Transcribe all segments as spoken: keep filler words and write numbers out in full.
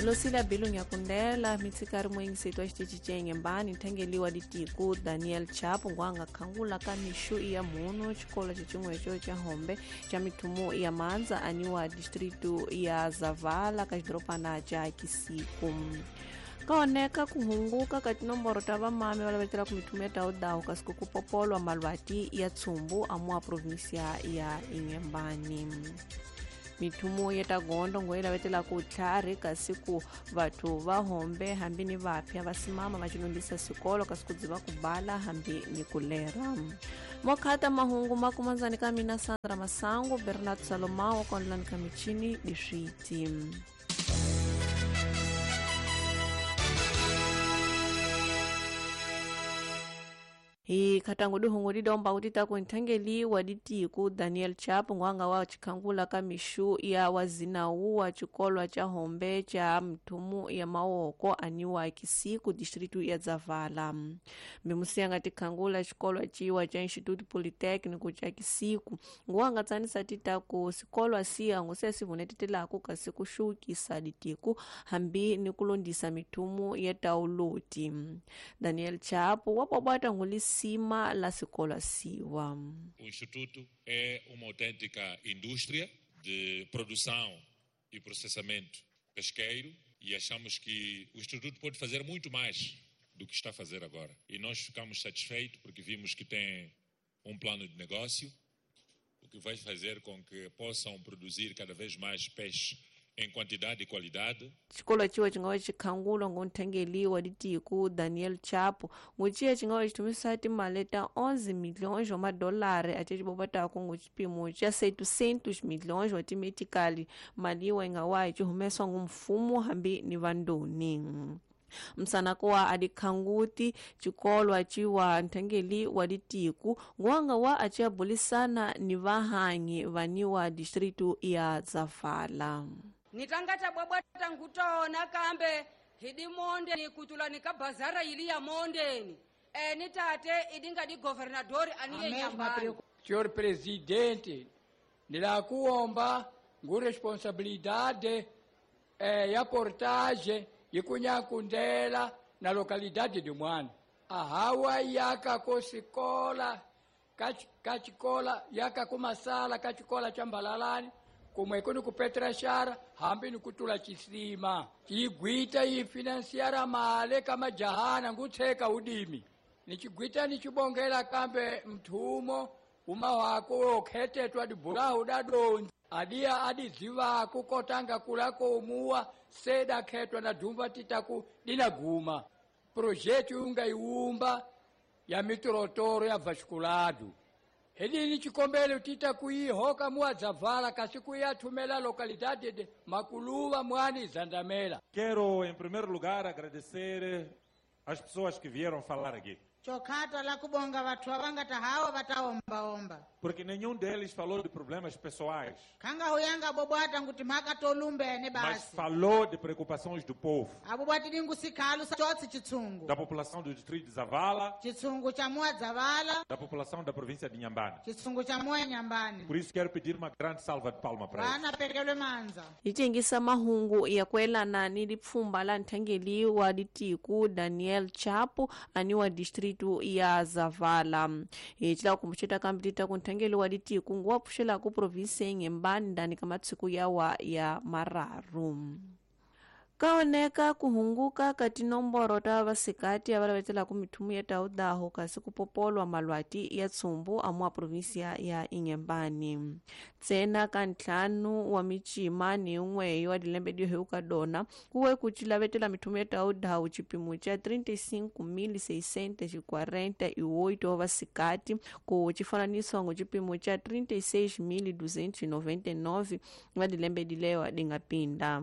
Losila Bilu Nyakundela mitsikari mwengisetwa xitichi ca Inhambane nthangeliwa ditiku Daniel Chapo ngwanga khangula ka mixu ya munu xikolo xin'we xa Hombe xa mithumu ya Manza aniwa distritu ya Zavala ka xidorobana xa Kisiku. Kaoneka kuhunguka ka tinomboro ta vamami va lavetela ku mithumu ya tawudawu kasi ku kupopolwa malwati ya tsumbu amua provinsia ya Inhambane. Mithumu ya tagondo ngo yi lavetela ku tlhari kasi ku vathu va Hombe hambi ni vapya va simama va cinondisa xikolo kasi ku dziva ku bala hambi ni ku lera. Mokhata mahungu makumanzani ka mina Sandra Masango Bernard Salomao kondlani ka michini diswiti. Hi katangu duhungu didomba utita kuntangeli wa ditiku Daniel Chapo ngwanga wa chikhangula ka mixu ya wazinawu wa chikolwa cha Hombe cha mthumu ya Maoko aniwa Kisiku distritu ya Zavala. Mimusiyanga tikhangula chikolwa chiwa cha Instituto Politécnico cha Kisiku ngwanga tsanisa tita ku sikolwa siya nguse sivunetitelaku kasi kuxukisa ditiku hambi ni kulondisa mithumu ya tauloti. Daniel Chapo wabwabwata ngulisi cima la escola siwa. O Instituto é uma autêntica indústria de produção e processamento pesqueiro e achamos que o Instituto pode fazer muito mais do que está a fazer agora. E nós ficamos satisfeitos porque vimos que tem um plano de negócio, o que vai fazer com que possam produzir cada vez mais peixe em quantidade e qualidade. Xikolo ciwa xi nga wa xikhangulwa ngonthengeliwa ditiku Daniel Chapo nguciya xi nga wa xitumisa timali ta onze milhões wa madolari ace xibobataku ngu xipimo xa setecentos milhões wa timetikali mali yiwa yi nga wa yi xi humesiwa ngu mfumo hambi ni vandoni. Msanako wa adikhanguti xikolwa ciwa nthengeli wa ditiku ngwanga wa acia bulisana ni vahanyi vaniwa distritu ya Zavala. Nitangata bwabwata ngutona kambe hidi monde ni kutula nika bazara ili ya mondeni e nitate idinga di governadori aniye nyambani. Senhor presidente, nilakuomba ngu responsabilidade eh, ya portagem ikunyakundela na localidade de Mwana. Ahawa yaka kosikola kachikola yaka kumasala kachikola chambalalani kumwe kuni kupetra shara hambi ni kutula chisima chigwita ifinanciara male kama jahana ngutheka udimi nichigwita nichibongela kambe mthumo uma wako okhetetwa dibulawu dadonzi adia adiziva kukotanga kulako umuwa seda khetwa na dumba titaku dinaguma projeto ungaiumba ya mitorotoro ya vasculado helini chikombele tita kuihoka muadzavala kasi kuyathumela localidade de Maculuva Mwani Zandamela. Quero em primeiro lugar agradecer as pessoas que vieram falar aqui. Chokata la kubonga vathu avangata hawa vataomba omba. Porque nenhum deles falou de problemas pessoais. Kanga huyanga bobwata nguti mhaka tolumbene basi. Mas falou de preocupações do povo. Abobwati dingu sikhalu chotsi chitsungu. Da população do distrito de Zavala. Chitsungu cha mua Zavala. Da população da província de Inhambane. Chitsungu cha mua Inhambane. Por isso quero pedir uma grande salva de palmas para eles. Vana pekelwe manza. Itengisa mahungu ya kwelana ni lipfumba la nthangeli wa ditiku Daniel Chapo aniwa distrito ya Zavala. Hi kumbuxeta kambe tita ku nthangeli wa ditiku nguwa pfuxela ku provinsi ya Inhambane ndani ka matsiku yawa ya mararu. Kaoneka kuhunguka ka tinomboro ta vasikati ava lavetelaka mithumu ya tawudaho kasi kupopolwa malwati ya tsumbu amua provinsia ya Inhambane. Ntsena ka ntlhanu wa micima ni yin'we wa dilembe diheuka dona kuwe ku cilavetela mithumu ya tawudaho xipimo xa trinta e cinco mil seiscentos e quarenta e oito wa vasikati ku xifananiso ngo xipimo xa trinta e seis mil duzentos e noventa e nove wa dilembe dilewa dinga pinda.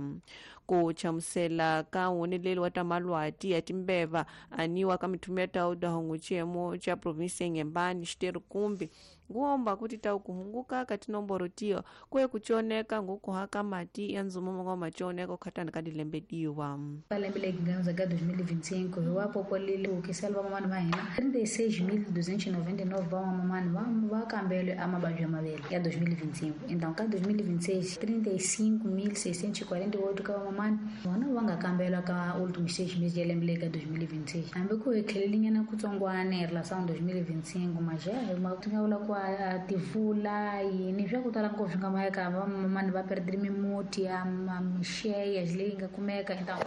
Ku chamusela ka woneleli wa ta malwati ya timbeva aniwa ka mithumu ya tawudaho xiyemo xa provinsi ya Inhambane xiterukumbi Nguomba kuti tau kuhunguka kati nomboro tiyo kwe kuchioneka ngukuhaka mati ya nzumo mongo machioneka ukhatani kadilembe diwa. Lembe leri nga ka dois mil e vinte e cinco hi wa popolile hukisela vamamani va hina trinta e seis mil duzentos e noventa e nove vamamani va va kambelwe a mavabyi ya mavele ya dois mil e vinte e cinco. Então ka dois mil e vinte e seis trinta e cinco mil seiscentos e quarenta e oito ka vamamani vona va nga kambelwa ka últimos seis meses ya lembe leri ka dois mil e vinte e seis. Hambi ku hi tlhelelinyana kutsongwana hi relação dois mil e vinte e cinco, mas já ma ti nga vula ku a tivula yini swa ku tala ngopfu swi nga mayeka vamamani va perdile mimuti ya mixeya leyi nga kumeka. Então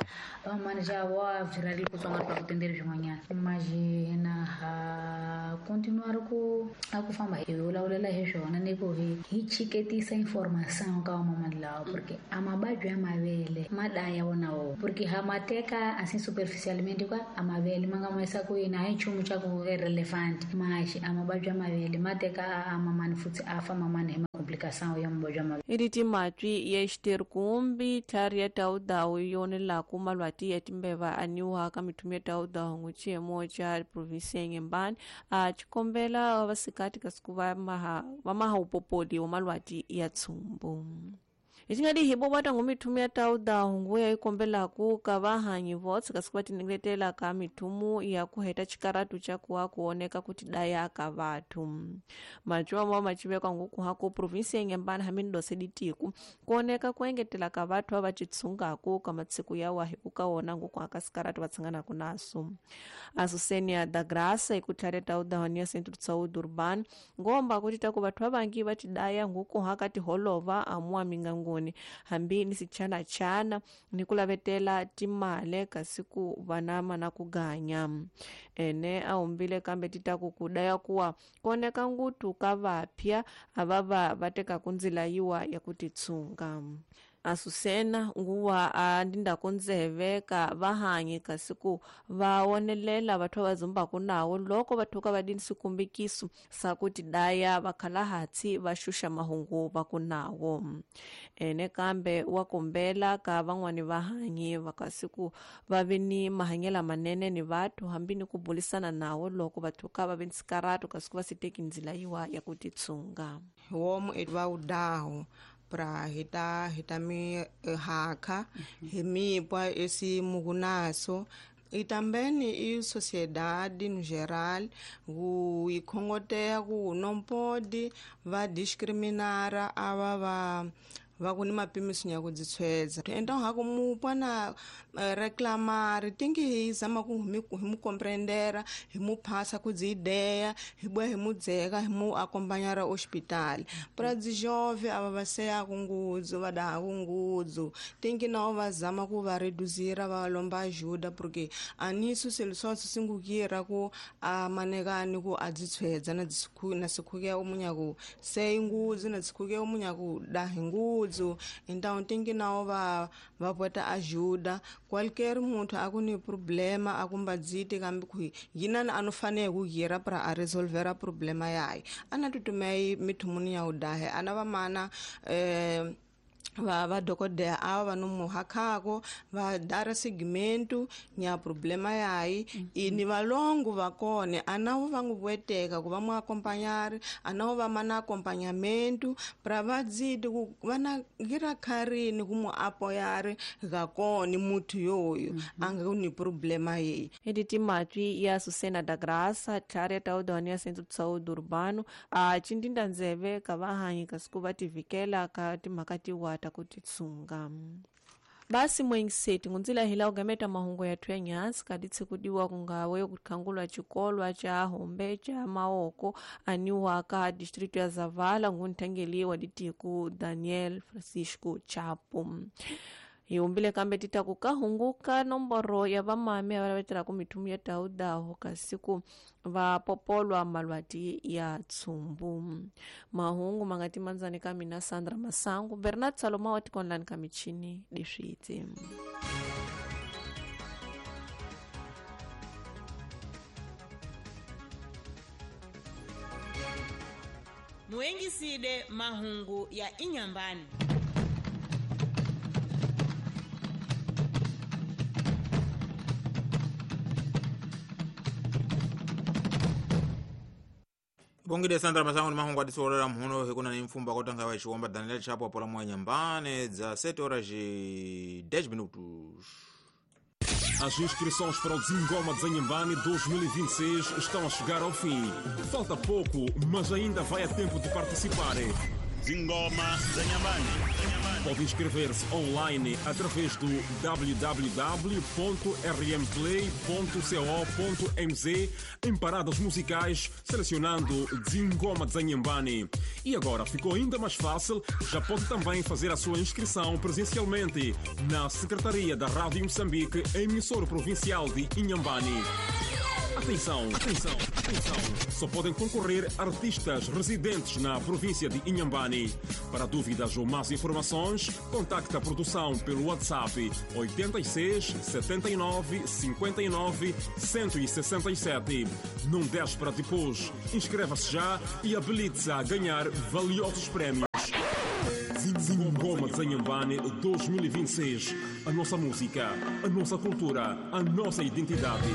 vamamani já wa byi kutsongwana pa ku tendeli swin'wanyana, mas hina ha continuar ku a ku famba hi vulavulela hi swona ni ku hi hi chiketisa information ka vamamani lawa, porque a mavabyi ya mavele ma daya wona wo, porque ha ma teka assim superficialmente ka a mavele ma nga ma yisa ku yini a hi nchumu xa ku relevant, mas a mavabyi ya mavele ma teka a mamani futhi a fa mamani hi complicação ya mavabyi ya mavele. Iditi matwi ya xiterkumbi tlhari ya tawudawu yonelaku malwati ya timbeva aniwa ka mithumu ya tawudawu nguchiyemo cha provinsi ya Inhambane a chikombela vasikati kasiku va maha va maha upopoli wa malwati ya tsumbu. Itingadi hibo bata ngumithumu ya tawudawu nguya ikombelaku ka vahanyi votse kasiku va tinengetela ka mithumu ya kuheta chikaratu cha kuwa kuoneka kuti daya ka vathu. Majuwa mwa machivekwa ngukuhako provinsi ya Inhambane hamini dose ditiku kuoneka kuengetela ka vathu ava chitsungaku ka matsiku ya wahi ukaona ngukuhaka sikaratu vatsanganaku naso. Asusenia da Graça ikutlhare tawudawu ya Centro de Saúde Urbano ngomba kuti taku vathu avangi vatidaya ngukuhaka tiholova amua mingangu hambi ni sichana chana ni kulavetela timale kasiku vanama na kuganya. Ene aumbile kambe titaku kudaya kuwa kuoneka ngutu ka vapya avava vateka kunzila yiwa ya kutitsunga. Asusena nguwa andinda kunzeve ka vahanyi kasiku vaonelela vathu vazumbaku nawo loko vathuka vadini sikumbikiso sakuti daya vakhalahatsi va xuxa mahungu va nawo. Ene kambe wa kombela ka van'wani vahanyi vakasiku va ve ni mahanyela manene ni vathu hambi ni ku bulisana nawo loko vathuka va ve ni sikaratu kasiku va si teki ndzila yiwa ya ku titsunga. Homu va wudahu pra hita hita mi haka hi mipwa esi mugunaso e também e sociedade no geral o e khongoteya ku não pode va discriminar ava va va ku ni mapimiso ya ku dzitshwedza. Então ha ku mupwa na reclamar tem que hi zama ku hi mu compreendera hi mu phasa ku dzi ideia hi boa hi mu dzeka hi mu acompanhar ao hospital para dzi jovem ava va seya ku ngudzu va daha ku ngudzu tem que não va zama ku va reduzir va lomba ajuda porque anisso solução singukira ku a manekani ku a dzitshwedza na dzikhu na sikhuke umunya ku sei ngudzu na sikhuke umunya ku daha ngudzu. Então tem que não va va bota ajuda qualquer muntu akuni problema akumbadzite kambi ku yinana anofanele ku gira para a resolver a problema yayi ana tutumei mithumuni ya udahe ana va mana eh va va dokodela ava va nomuhakhako va dara segmento nya problema yayi ini valongo va kone anawo va nguvueteka ku va mu acompanhar anawo va mana acompanhamento para va dzidi ku va na gira kharini ku mu apoiar ga kone muthu yoyo anga ni problema yeyi. Editi matwi ya Susena da Graça tlhari ya tawudawu ya Centro de Saúde Urbano a chindinda ndzeve ka vahanyi kasiku va tivikela ka timhaka tiwa ta ku titsunga. Basi mwengiseti ngunzila hila ugameta mahungu yathu ya nyansi kaditsi kudiwa kungawe kukhangulwa chikolwa cha hombe cha maoko aniwa ka distrito ya Zavala ngunthengeliwa ditiku Daniel Francisco Chapo. Iumbile kambe tita kukahunguka nomboro ya vamame avavetela ku mithumu ya tawudawu kasiku va popolwa malwati ya tsumbu. Mahungu mangati manzani ka mina Sandra Masangu Bernard Saloma wa tikonlani ka michini diswitsi. Muengiside mahungu ya Inhambane. Bongile Sandra Masango ni mahungu atisoolera mhuno hikuna ni mfumba kotanga wa chiwomba Daniel Chapo apola mwa Inhambane dza sete horas e dez minutos. As inscrições para o Zingoma de Inhambane dois mil e vinte e seis estão a chegar ao fim. Falta pouco, mas ainda vai a tempo de participar. Zingoma de Inhambane. Pode inscrever-se online através do w w w ponto r m play ponto co ponto m z em paradas musicais, selecionando Zingoma de Inhambane. E agora ficou ainda mais fácil, já pode também fazer a sua inscrição presencialmente na Secretaria da Rádio Moçambique, emissora provincial de Inhambane. Atenção, atenção, atenção! Só podem concorrer artistas residentes na província de Inhambane. Para dúvidas ou mais informações, contacte a produção pelo WhatsApp oitenta e seis, setenta e nove, cinquenta e nove, cento e sessenta e sete. Não deixe para depois. Inscreva-se já e habilite-se a ganhar valiosos prémios. Zingoma de Inhambane dois mil e vinte e seis. A nossa música, a nossa cultura, a nossa identidade.